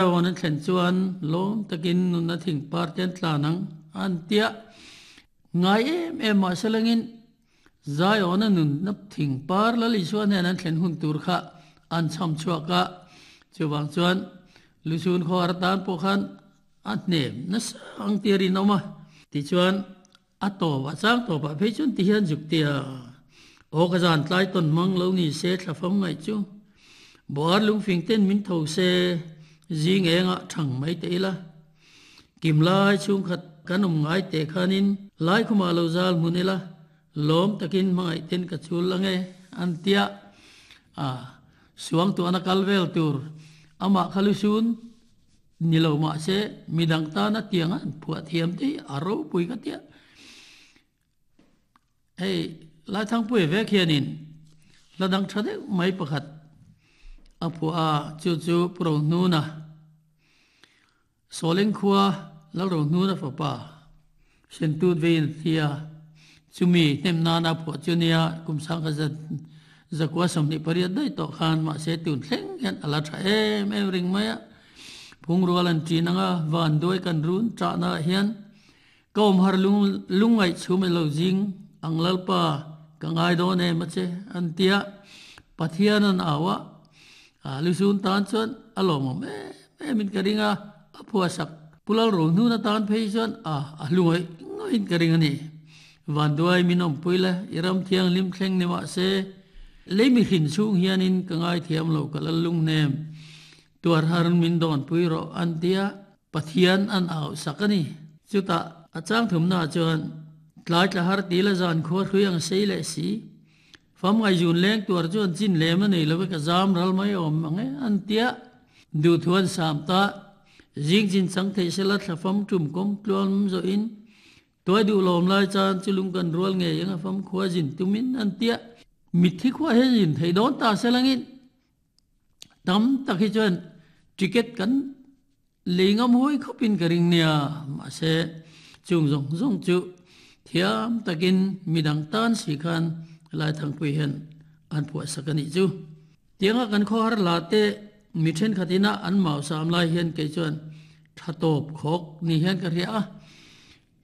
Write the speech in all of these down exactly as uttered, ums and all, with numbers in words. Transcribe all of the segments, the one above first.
An thlen chuan lawm takin nunna thing par te an tlan ang an tia. Ngai em em mah selangin Zion-a nunna thing par Lal Isua hnen an thlen hun tur kha an chham chhuak a. Chuvang chuan Lusun khaw atan pawh khan a hnem nasa ang tir in awm a. Tichuan a tawp a chang tawp ah phei chuan ti hian zuk tia aw ka zan tlai tawn hmang lo ni se thla fam ngaih chu Buar lungfing ten min tho se zing engah thang mai teh ila. Kim lai chhungkhat kan awm ngai teh khanin lai khumah lo zal hmun ila lawm takin hmangaih ten ka chul ange an tia a suang tuahna kal vel tur amah kha lusun ni lo mahse midang tana tianga an phuah thiam te hi a ropui ka tia. Hei Laithangpuia vek hianin hla dang tha deuh mai pakhat a phuah a, chu chu Pu Rohnuna, Sawleng khua Lal Rohnuna fapa Sentut veiin a thi a, chumi hnem nana a phuah chu nia kum sangkhat zat zakua sawmhnih pariat daih tawh khan mahse tun thleng hian a la tha em em ring mai a, phungrual an ṭin anga van duai kan run ṭahna ah hian Ka awm har lung lungngaih chhum e lo zing ang Lalpa ka ngai dawn em a che an ti a, Pathian an au a, a lusun tan chuan a lawmawm em em in ka ring a, a phuasak Pu Lalrohnun atan phei chuan a a hlungaih ngawih in ka ring a ni. Vanduai min awmpui le i ram thianghlim thleng ni mahse lei mihrin chhung hianin ka ngaithiam lo ka lal lunghnem tuar har min dawnpui rawh an ti a, Pathian an au sak a ni. Chutah a chang thumnaah chuan tlai tla har ti la zan khua hrui ang sei leh si. Fam ngaihzun leng tuar chuan chin lem a nei lo e ka zam ral mai awm ang e an tia. Duhthu an sam ta. Zing chin chang theih sela thla fam tum kawm tluan zawhin tuai duh lawm lai chan chu lung kan rual ngei eng a fam khua zin tumin an tia. Mitthi khua hian zin theih dawn ta selangin tam tak hi chuan ticket kan Lei ngam hawi khawpin ka ring nia, mahse chung zawng zawng chu thiam takin midang tan si khan Laithangpui hian an phuahsak a nih chu. Tianga kan khawhar la te mi thenkhat ina an mau sam lai hian kei chuan tha tawp khawk ni hian ka hria a,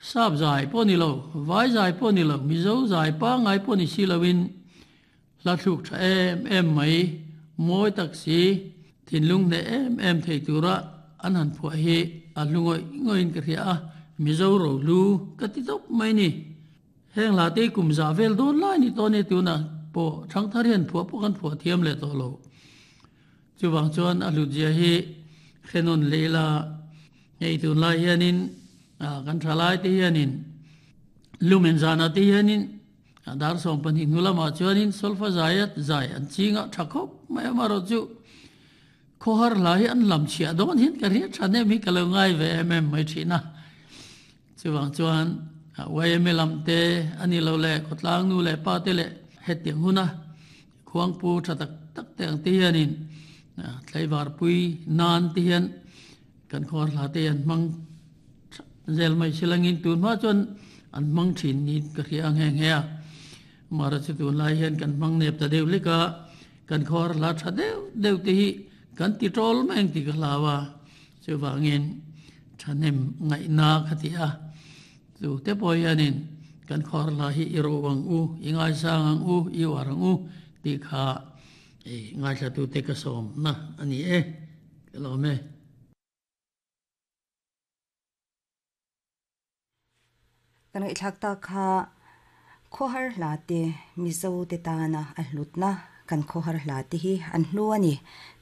sap zai pawh ni lo, vai zai pawh ni lo, Mizo zai pangngai pawh ni si loin Hla thluk tha em em mai, mawi tak si, thinlung hneh em em thei tura an han phuah hi a hlu ngawih ngawih in ka hria a, Mizo rohlu ka ti tawp mai ni. Heng hla te kum zah vel dawn lai ni tawh nia tunah pawh Thangthar hian phuah pawh kan phuah thiam leh tawh lo. Chuvang chuan a hlutzia hi hrenawn leh ila, hei tunlai hianin kan thalai te hianin lumen zanah te hianin Dar sawm pahnih hnu lamah chuanin solfa zaia zai an ching a, tha khawp mai amarawh chu khawhar hla hi an lam chhiah dawn hian ka hriat than em hi ka lo ngai ve em em mai thin a. Chuvang chuan Y M A lam te a ni lo leh khawtlang nu leh pa te leh hetiang huna khuangpu tha tak tak te ang te hianin tlaivarpui nan te hian kan khawhar hla te hi an hmang Zel mai silangin tun hma chuan an hmang thin niin ka hria a nghe nghe a. Mara chu tunlai hian kan hmang nep ta deuh lek a, kan khawhar hla tha deuh deuh te hi kan ti tawl mai ang tih ka hlau a, chuvangin thahnem ngaihna kha ti a. Chu te pawh hianin kan khawhar hla hi i ro ang u, i ngaisang ang u, i uar ang u tih kha ngaithlatute ka sawmna a ni e, ka lawm e. Kan ngaihthlak tak kha khawhar hla te Mizo te tana a hlutna kan khawhar hla te hi an hlu a ni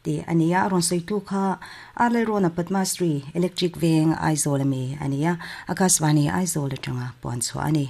tih a ni a, a rawn sawitu kha Arlalrawna Padmasri Electric Veng Aizawl ami a ni a, Akashvani Aizawl atanga puan chhuah a ni.